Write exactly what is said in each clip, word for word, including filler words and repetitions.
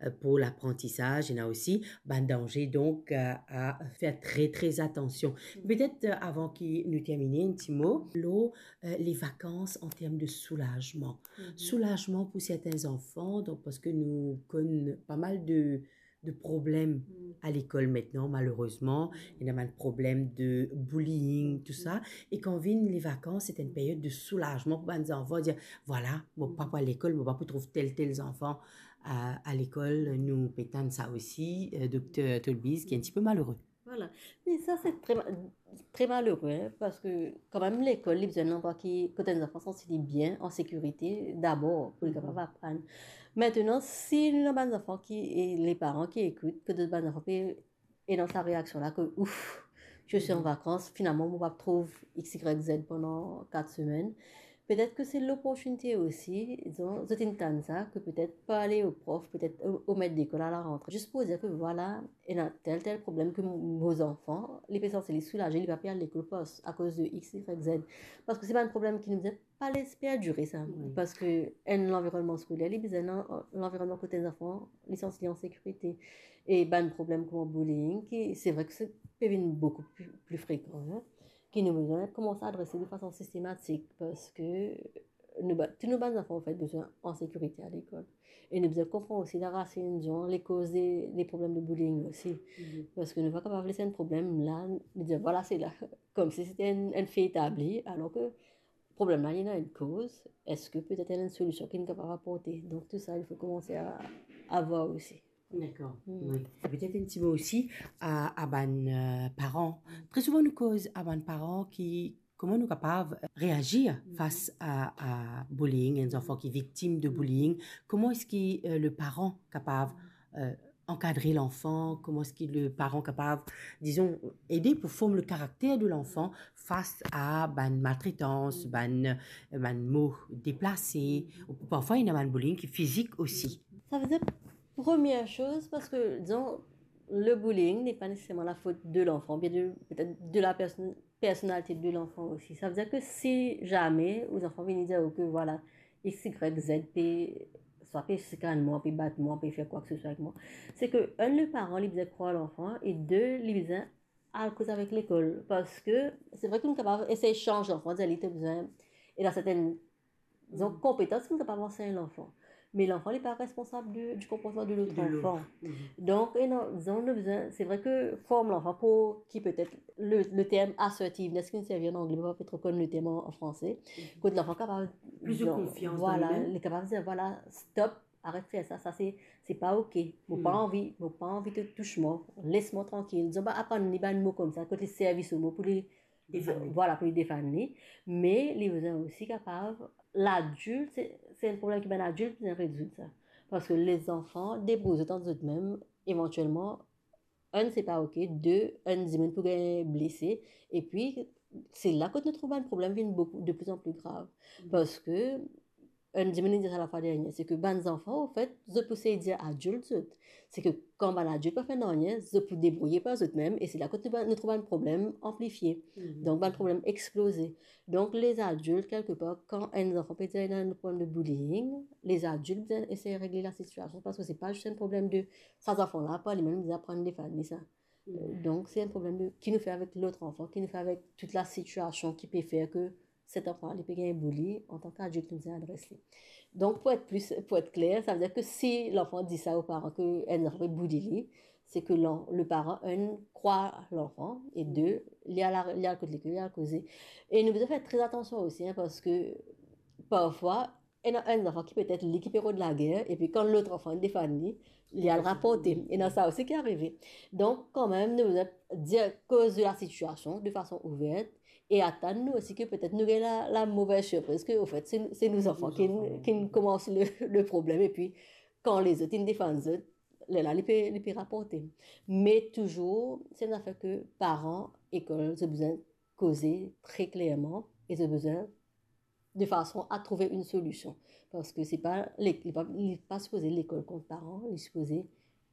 euh, pour l'apprentissage, ena osi bann danze, donk, euh, a fer tre, tre atansion. Petet, euh, avan ki nou termine, enn ti mo lor, euh, les vacances en termes de soulagement. Soulagement pour certains enfants, donk, parski nou konn pa mal de, de problem a lekol aster, malerezman, ena bann problem de bullying, tou sa. E kan vinn les vacances, se enn period de soulagement pour bann zanfan, dir, vwala, mo pa pou al lekol, mo pa pou trouv tel, tel zanfan a, a lekol. Nou pe tann sa osi, euh, Dokter Tolbiz, ki enn ti pe malere. Vwala. Me sa, se tre ma-, tre malere, hein, parski kanmem lekol, li bizin landrwa ki, kot enn zanfan santi li bien, an sekirite, dabor, pou li kapav aprann. Aster, si nou ena bann zanfan ki, e les parents ki ekout, ki zot bann zanfan pe ena sa reaksion la ki, ouf, je suis en vacances, finalman, mo pa trouv X, Y, Z pandan kat semenn. Petet ki se loportinite osi, dizon, zot inn tann sa, ki petet parle o prof, petet o, o met lekol a larantre. Zis pou dir ki, vwala, ena tel, tel problem ki mo, mo zanfan, li pe santi li soulaze, li pa pe al lekol parski, akoz de X, Y, Z. Parski se bann problem ki nou bizin pa les perdire sa. Wi. Parski enn lanvironnman skoler, li bizin enn lanvironnman kot enn zanfan, li santi li an sekirite. E bann problem kouma bullying, ki, se vre ki se, pe vinn boukou pli, pli frekan, hein, ki nou bizin koumans adrese de fason sistematik, parski nou ba-, tou nou bann zanfan, anfet, bizin an sekirite a lekol. E nou bizin konpran osi larasinn, dizon, lekoz de, de problem de bullying osi. Parski nou pa kapav les enn problem la, nou dir, vwala, se la, koumsi se te enn, enn fe etabli, alor ki problem la, li ena enn koz, eski petet ena enn solision ki nou kapav aporte. Donk, tou sa, il fo koumanse a, a vwar osi. Dakor. Wi. E petet enn ti mo osi a, a bann, euh, paran. Tre souvan, nou koz a bann paran ki, kouma nou kapav reazir fas a, a bullying, enn zanfan ki viktim de bullying, kouma eski, euh, le paran kapav, euh, ankadre lanfan, kouma eski le paran kapav, dizon, ede pou form le karakter de lanfan fas a bann maltretans, bann, bann mo deplase, ou parfwa ena bann bullying ki fizik osi. Sa ve dir, première chose, parski, dizon, le bullying n'est pas nécessairement la faute de l'enfant, bien de, peut-être de la personne, personnalité de l'enfant aussi. Sa ve dir ki si zame ou zanfan vini dir ou ki, vwala, X, Y, Z pe, swa pe sikann mwa, pe bat mwa, pe fer kwa ke se swa avek mwa, se ki, enn, le paran, li bizin krwar lanfan, e de, li bizin al koz avek lekol. Parski se vre ki nou kapav esey sanz lanfan, dir li to bizin, ena sertenn, dizon, konpetans ki nou kapav ansegn lanfan. Me lanfan, li pa responsab de, du konportman de lot zanfan. Donk, e non, dizon, nou bizin, se vre ki form lanfan pou ki petet le, le term assertiveness ki nou servi an angle, mo pa pe tro konn le term an, an franse. Kot lanfan kapav, plis de konfians dan li mem. Vwala, li kapav dir, vwala, stop, aret fer sa, sa se, se pa oke. Mo pa anvi, mo pa anvi to tous mwa, les mwa trankil. Dizon, ba, aprann li bann mo koumsa, kot li servi so mo pou li, vwala, pou li defann li. Me li bizin osi kapav, ladilt, se, se enn problem ki bann adilt bizin rezoud sa. Parski lezanfan debrouy zot ant zot mem, evantielman, enn, se pa oke, de, enn dimoun pou gagn blese, epi se la kot nou trouv bann problem vinn boukou, de pli an pli grav. Parski enn dimoun inn dir sa lafwa dernie, se ki bann zanfan, anfet, zot pou sey dir adilt zot. Se ki kan bann adilt pa fer nanye, zot pou debrouye par zot mem, e se la kot nou, nou trouv bann problem anplifie. Donk, bann problem exploze. Donk, lezadilt, kelkepar, kan enn zanfan pe dir ena enn problem de bullying, lezadilt bizin esey regle lasitiasion, parski se pa zis enn problem de sa zanfan la, par li mem, li bizin aprann defann li sa. Donk, se enn problem de ki nou fer avek lot zanfan, ki nou fer avek tou lasitiasion ki pe fer ki set zanfan la, li pe gagn bully, antan ki adilt, nou bizin adres li. Donk, pou et plis, pou et kler, sa ve dir ki si lanfan dir sa o paran ki enn zanfan pe bully li, se ki lan-, le paran, enn, krwar lanfan, e de, li al, li al kot lekol, li al koze. E nou bizin fer tre atansion osi, hein, parski parfwa, ena enn zanfan ki petet li ki pe rod lager, epi kan lot zanfan defann li, li al raporte. Ena sa osi ki arive. Donk, kanmem, nou bizin dir koz de lasitiasion de fason ouver, e atann nou osi ki petet nou gagn la, lamove sirpriz, ki, anfet, se, se nou zanfan ki, ki koumans le, le problem, epi kan lezot inn defann zot, lerla li pe, li pe raporte. Me touzour, se enn zafer ki paran, lekol, zot bizin koze tre klerman, e zot bizin de fason a trouve enn solision. Parski se pa le-, li pa, li pa sipoze lekol kont paran, li sipoze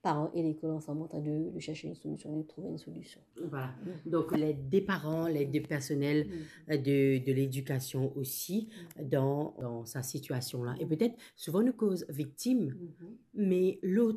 paran e lekol ansam antrin de, de cherche enn solision, de trouve enn solision. Vwala. Donk, led de paran, led de personel, euh, de, de ledikasion osi dan, dan sa sitiasion la. E petet, souvan nou koz viktim, me lot